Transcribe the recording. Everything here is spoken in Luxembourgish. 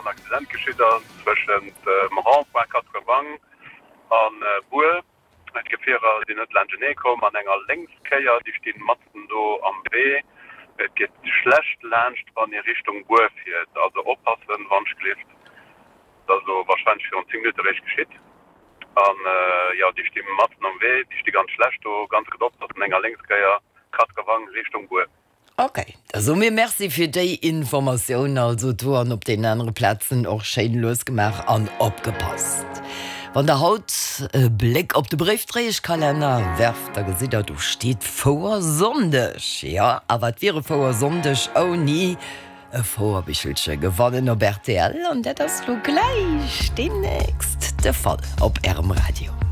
en Accident geschitt ass zwëschent dem Rond-point Quatre-Vang a Bur. D'Gefierer sinn net laanschtenee komm an enger Lénkskéier, déi stinn matzen do am Wee. Et geet schlecht laanscht wann ee Richtung Bur fiert, also oppassen wannschglift. Dat ass elo warscheinlech virun 10 Minutte réischt geschitt. An jo, déi sti matzen am Wee, déi sti ganz schlecht do, ganz gutt oppassen, enger Lénkskéier, Quatre-Vang Richtung Bur. Ok, da soe mir Merci fir déi Informatioun. Also do an op deenen anere Plazen och schéin lues gemaach an opgepasst. Wann der haut e Bléck op de Bréifdréieschkalenner werft, da gesitt der, do steet Fouersonndeg. Jo, a wat wier e Fouersonndeg ouni e Fouerbichelche gewannen op rtl? An dat ass lo gläich deemnächst de Fall op Ärem Radio.